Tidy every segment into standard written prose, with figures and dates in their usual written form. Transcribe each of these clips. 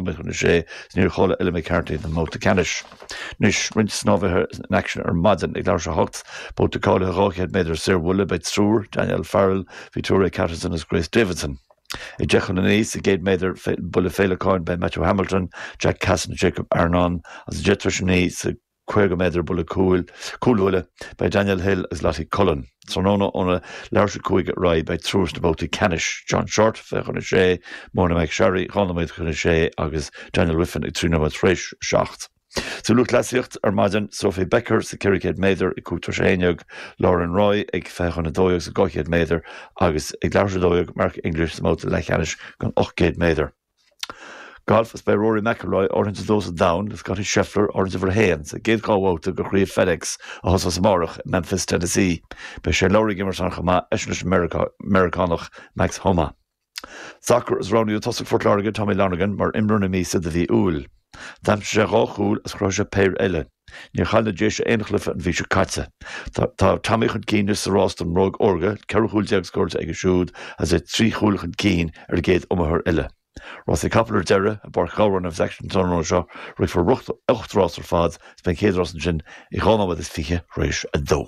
nóiméad chun a sé is níor chaill Ella McCarthy don mbabhta ceannais. Anois, roinnt snámhaithe in aicsean ar maidin ag leathuair tar éis a 8, babhta cáilithe 200 méadar saorbhuille, beidh triúr, Danielle Farrell, Victoria Catterson agus Grace Davidson. Ag 10 chun a 9 sa gcéad méadar buille féileacáin beidh Matthew Hamilton, Jack Casson agus Jacob Arnon agus ag 10 tar éis a 9 sa 50 méadar buille cúil, cúlbhuille, beidh Daniel Hill agus Lottie Cullen. Tráthnóna óna leathuair tar éis a 5 ar aghaidh beidh triúr sna babhtaí ceannais, John Shortt, 20 chun a 6, Mona McSharry, 2 nóiméad chun a 6 agus Daniel Wiffen ag 3 nóiméad tar éis a 7. Sa lúthchleasaíocht ar maidin, Sophie Becker sa 400 méadar ag 5 tar éis a 11, Lauren Roy ag 20 chun 12 sa 200 méadar agus ag leathuair tar éis a 12 Mark English sa mbabhta leathcheannais don 800 méadar. Galf Is beidh Rory McIlroy, áirithint a dó sa domhan, le Scottie Scheffler, áirithint uimhir a haon, sa gcéad dhá bhabhta de Chraobh FedEx a thosós amárach i Memphis, Tennessee. Beidh Shane Lowry ag imirt an-chomh maith, eisean leis an Meiriceánach Max Homa. Sacar Is roghnaíodh tosaí Phort Láirge, Tommy Lonergan, mar imreoir na míosa do mhí Iúil. D'aimsigh sé dhá chúl agus chruthaigh sé péire eile. Níor chaill na Déise aon chluiche an mhí seo caite. Tá Tommy chun cinn anois sa rás don mBróg Órga, 14 chúl scóráilte aige siúd agus é trí chúl chun cinn ar an gcéad iomaitheoir eile. Rásaí capall ar deireadh, i bPáirc Ghabhráin a bheas aicsean an tráthnóna seo, rithfear 8 rás ar fad is beidh an chéad rás ansin ag 2 nóiméad is 20 tar éis a dó.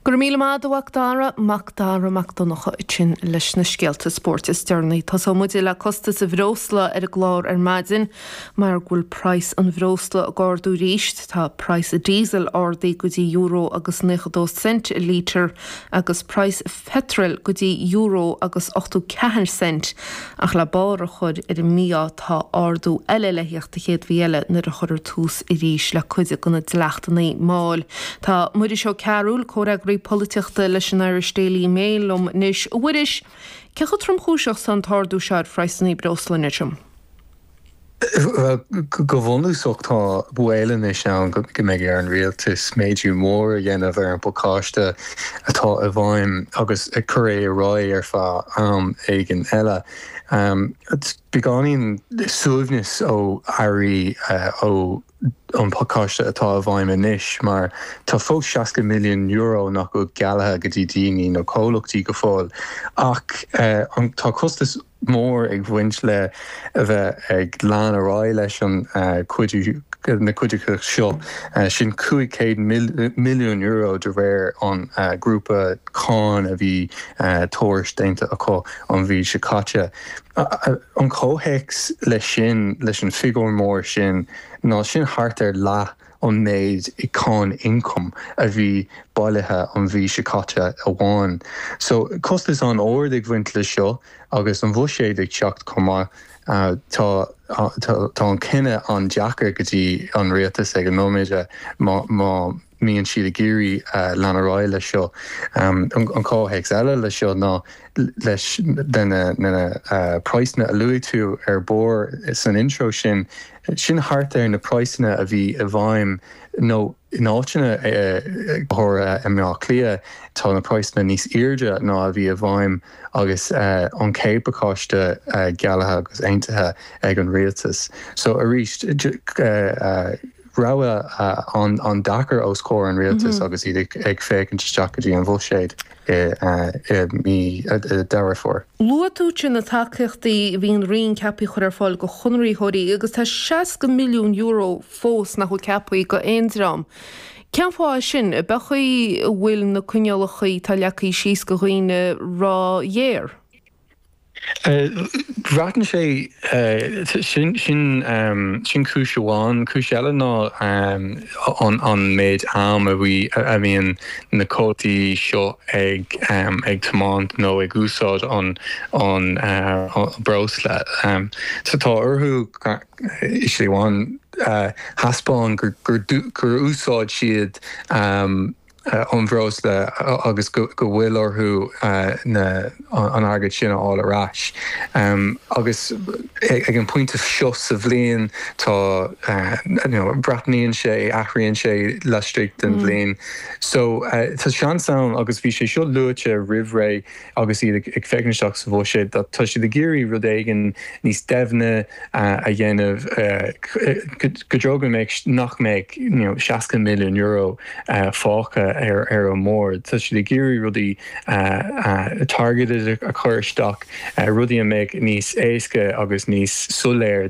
Go raibh míle maith agat a Mhac Dara, Mac Dara Mac Donncha ansin leis na scéalta spóirt is deireanaí. Tosóidh muid le costas an bhreosla ar an gclár ar maidin mar go bhfuil praghas an bhreosla ag ardú arís. Tá praghas an diesel ardaithe go dtí euro agus 92 cent an lítear agus praghas pheitril go dtí euro agus 84 cent ach le barr a chur ar an mí-ádh tá ardú eile le theacht an chéad mhí eile nuair a chuirfear tús arís le cuid de na dleachtanna máil. Tá Muiris Ó Cearúil, comhfhreagraí polaitíochta leis an Irish Daily Mail liom anois. A Mhuiris, cé chomh tromchúiseach is atá an t-ardú seo ar phraghsanna breosla anois? Bhuel, go bunúsach tá baol anois ann go mbeidh ar an rialtas méadú mór a dhéanamh ar an bpacáiste atá i bhfeidhm agus ag cur é ar aghaidh ar feadh am éigin eile. Beagáinín suaimhneas ó airí ó an pacáiste atá i bhfeidhm anois mar tá fós €60 milliún nach bhfuil gealltha go dtí daoine nó comhlachtaí go fóill ach tá costas mór ag bhaint le a bheith ag lean ar aghaidh leis an cuidiú na cuideachta seo, sin €500 milliún de réir an grúpa cáin a bhí tuairisc déanta acu an mhí seo caite. An comhthéacs leis sin, leis an figiúr mór sin, ná sin thart ar leath an méid i cáin ioncaim a bhí bailithe an mhí seo caite amháin. So, costas an-ard ag bhaint leis seo agus an bhuiséad ag teacht chomh maith. Tá tá an cinneadh an-deacair go dtí an rialtas ag an nóiméad má má mbíonn siad ag iarraidh lean ar aghaidh leis seo. An comhthéacs eile leis seo ná leis na praghsanna a luaigh tú ar barr san intro sin, sin thart ar na praghsanna a bhí i bhfeidhm nó in áiteanna, go háirithe i mBleá Cliath, tá na praghsanna níos airde ná a bhí i bhfeidhm agus an chéad pacáiste gealltha agus aontaithe ag an rialtas. So arís, rogha an-deacair os comhair an rialtais agus iad ag féachaint isteach go dtí an bhuiséad i mí Deireadh Fómhair. Luaigh tú ansin na tacaíochtaí a bhí an Roinn ceaptha a chur ar fáil do chonraitheoirí agus tá €60 milliún fós nach bhfuil ceaptha do aon dream. Cén fáth é sin? Ab é an chaoi a bhfuil na coinníollacha atá leagtha síos do dhaoine ró-ghéar? Braitheann sé, sin, sin, sin cúis amháin. Cúis eile ná an méid am a bhí, a bhíonn na comhlachtaí seo ag, ag tiomáint nó ag úsáid an, an breosla. So tá orthu i slí amháin thaispeáin gur, gur, gur úsáid siad an bhreosla agus go bhfuil orthu an airgead sin a fháil ar ais. Agus ag an bpointe seo sa bhliain tá, you know, breathnaíonn sé, athraíonn sé laistigh den bhliain. So tá seans ann agus bhí sé seo luaite roimh ré agus iad ag féachaint isteach sa bhuiséad, tá siad ag iarraidh rud éigin níos doimhne a dhéanamh go dtreo go mbeidh, nach mbeidh you know €60 milliún fágtha ar an mbord. Tá siad ag iarraidh rudaí targeted a chur isteach, rudaí a mbeidh níos éasca agus níos soiléir.